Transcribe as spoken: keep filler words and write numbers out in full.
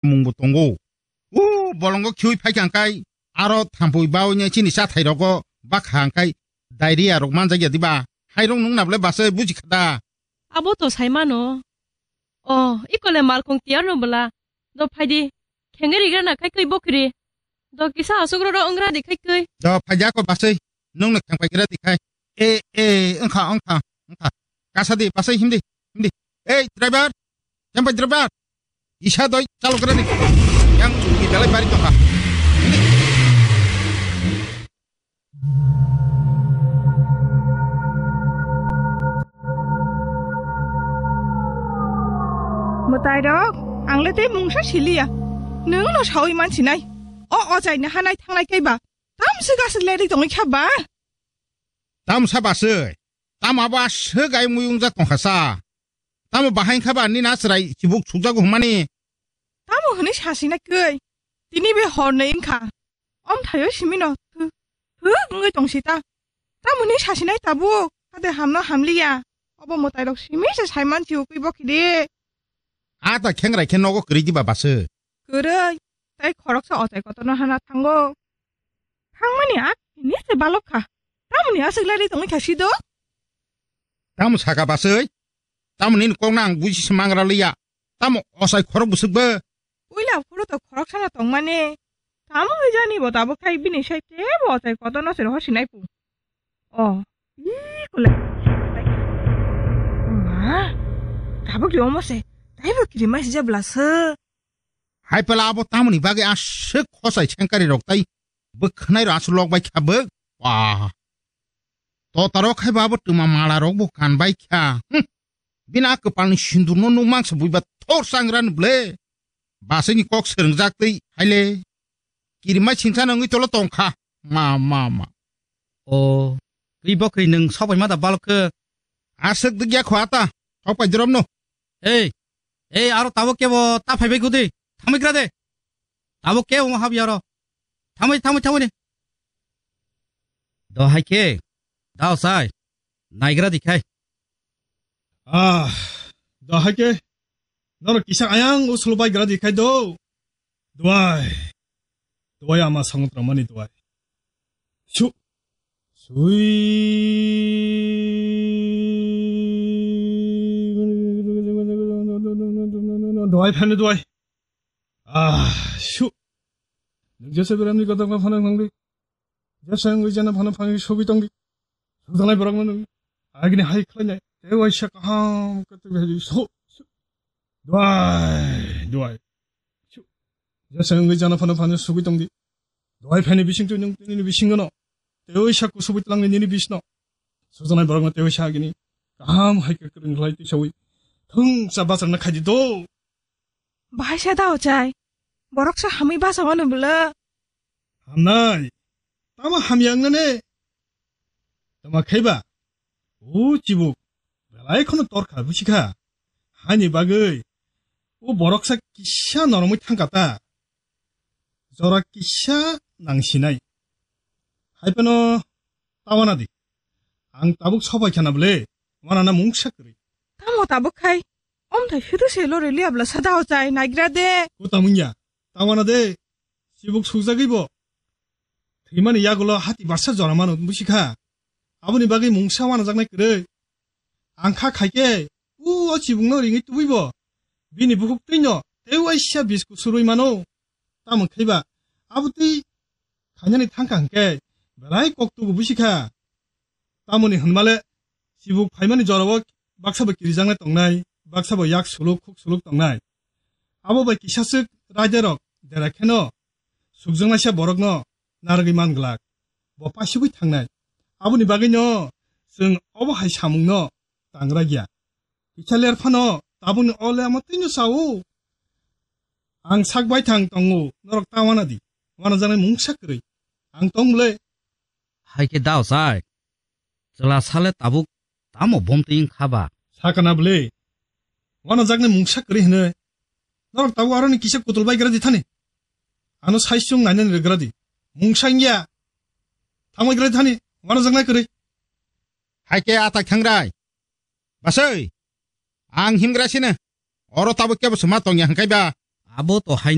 mungbo tongo. O bolongo khiui phaikha hwnkhe aro thampui baui chini chathai rogo bakha hwnkhe diarrhea rok manjakya diba? Hairok nung nabwle bwsai buji kha da? Abo to sai mano. O, ikole malkhung tiyar no bwla. Do phaidi. Khengri rigra na khai kwi bokri. Do kisa asuk ro ro wngra di khai kwi. Do phaidi ako bwsai. Nung no khengpai gra di khai. E, e, wngkha, wngkha, wngkha. Kasa di, bwsai himdi, himdi. Ei, driver. Khengpai driver. Isa doi chalo gra di. Yang chukki dalai bari tongkha. Himdi. Mwtairok, ang le tei mungsa siliya. Nwng no saui mansinai. O ochaini hanai thangnai kaiba. Tamswk aswk lerwi tongwi kha ba? Tamsa baswi. Tamo abo aswk ai muyungjak tongkha sa. Tamo bahai kha ba nini aswrai chibuk sukjago hwnmani? Tamo hwnwi sasinai kwi. Tini be hor nwi wngkha. Omthaio simino thu, thu wngwi tong sita. Tamoni sasinai tabuk, hade hamno hamliya. Obo mwtairok simi se saiman si ukui bokhi de. A ta khengrai khe nogo kwrwi diba baswi. Kwrwi, tei khoroksa ochai kotorno hana thango. Thangmani a hini se balok kha. Tamoni aswk lerwi tongwi kha sido? Tamo saka baswi? Tamoni ni kokno ang buji se mangra liya. Tamo osai khorok bwswk bo? Puila phuru to khorok sana tongmani. Tamo hwnjani bo tabuk khai bini sai tebo ochai kotorno se rohor sinai pu. O, ii kule. Ma, tabuk yo mo se. Taibo kiri mai sija bla se. Hai pela abo tamoni bagwi aswk khosai sengkari rok tai bwkhanai rok aswk lok bai kha bwk. Wah. To taro khai bo abo twma mala rok bo kan bai kha. Hm. Bini a kwpalni sindurno nukmang se buiba thor sangrani ble. Baswkni kok swrwngjak twi haile. Kirimai singsa nangwi tolo tongkha. Ma, ma, ma. O, twi bo kwi nwng sobai ma da balok khe? Aswk dwgya kho ata. Sok pai dromno. Ei, ei, aro tabuk kebo ta phaibai gudi. Thangwi gra de. Tabuk kebo ma habya aro. Thangwi, thangwi, thangwi de. Do hai khe. Dao sai. Naigra di khai. Ah, do hai khe. Norok kisa ayang usul bai gra di khai do. Duai. Duai ama sangot ramani duai. Su. Sui. Duai phani duai. Ah, su. Nung jesa beramni kotor ma phana phangri. Jesa wngwi jana phano phangwi sogwi tongdi. Sudanai borokno nung agini hai khlainai. Tei waisa kaham khe twi hai so, so. Duai, duai. Su. Jesa wngwi jana phano phangwi sogwi tongdi. Duai phaini bising twi nung tini bisingono. Tei waisa kusubwi twlangni nini bisno. Sudanai borokno tei waisa agini kaham hai khe kwrwng khlai twi sawi. Thung cha bacharna khaidi do. Bahai sa da ochai. Borok sa hamwi basa wano bwla. Hamnai. Tamo hamya wngna ne? Tamo khaiba? O chibuk. Belai khono torkha busikha. Hani bagwi. O borok sa kisa noromwi thangka ta. Jora kisa nangsinai. Hai phano ta wana di. Ang tabuk sobai khana bwle. Wana na mungsa kwrwi. Tamo tabuk khai. Omthai sudu se lori liya bwla sa da ochai naigra de. Ko tamungya. Ta wana de. Chibuk sukjagwi bo. Thwimani yagulo hati barsa jora mano busikha. Aboni bagwi mungsa wanajaknai kwrwi. Ang kha khaikhe, u o chibukno ringwi tubui bo. Bini bukhuk twino tei waisa bisku surui mano. Tamo khaiba, abo twi khainani thangkha hwnkhe belai kok tugu busikha. Tamoni hwnmale, chibuk phaimani jorao baksa bo kirijaknai tongnai, baksa bo yak suluk, khuk suluk tongnai. Abo bai kisaswk raidarok dera kheno sukjaknaisa borokno narwgwi man glak, bo pasugwi thangnai. Aboni bagwino chwng obo hai samungno tangra ya. Kisa ler phano tabukni o le amo twino sao. Ang sak baithang tongo, norok ta wana di. Wanajaknai mungsa kwrwi. Ang tong bwle. Hai khe dao chai. Chwla sale tabuk tamo bom twi wng kha ba? Sakana bwle. Wanajaknai mungsa kwrwi hwnwi. Norok tabuk aroni kisa kutul bai gra di thani. Ano sai chwng nainani rwgra di. Mungsa wngya. Thangwi gra di thani. Wanajaknai kwrwi. Hai khe atak thangrai. Basai. Ang himgra sino. Oro tabuk kebo se ma tongya hwnkhe ba? Abo to hai